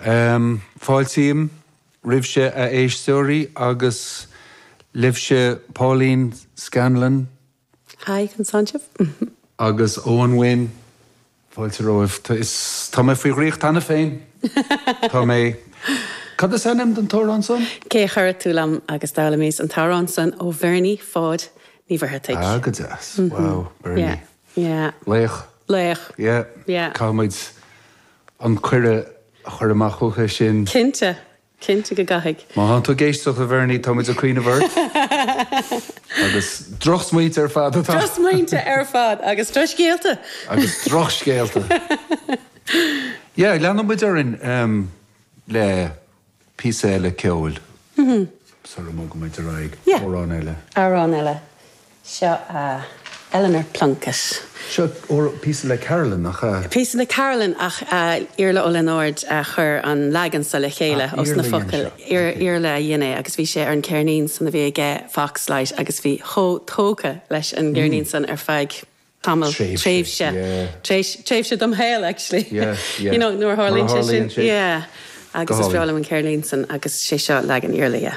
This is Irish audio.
Fáiltím roimhse a éisteoirí agus libhse Pauline Scanlon. Hi, conas tánn sibh? Agus Eoin Wynne. Fáilte romhaibh. Tá mé faoi dhraíocht cheana féin. Tá mé. Cad is ainm don t-amhrán san? Cé a chuirfidh tú liom agus d'fhoghlaimíos an t-amhrán san ó Bhernie Pháid Ní Mhuircheartaigh. Ah, go deas. Wow, Bernie. Yeah, yeah. Laoch. Laoch. Yeah. Yeah. Caithfidh muid an cuireadh a chur amach chuige sin. Cinnte. Cinnte go gcaithfidh. Má thánn tú ag éisteacht, a Bhernie, tá muid ag cuimhneamh ort. Agus drochsmaointe ar fad atá. Drochsmaointe ar fad agus drochscéalta. Agus drochscéalta. Yeah, leanfaidh muid orainn le píosa eile ceoil sara mbogann muid ar aghaidh. Yeah. Amhrán eile. Amhrán eile. Seo Eleanor Plunkett. Seo píosa le Carolyn, nach ea? Píosa le Carolyn ach Iarla Ó Lionáird a chuir an leagan so le chéile os na focail. Iarla a dhein é agus bhí sé ar an ceirnín san a bhí aige Foxlight agus bhí chomh tógtha leis an gceirnín san ar feadh tamall, tréimhse, tréimhse dom shaol actually. You know, nuair a tharlaíonn sé sin. Yeah. Agus is breá liom an ceirnín san agus sé seo leagan Iarla, yeah.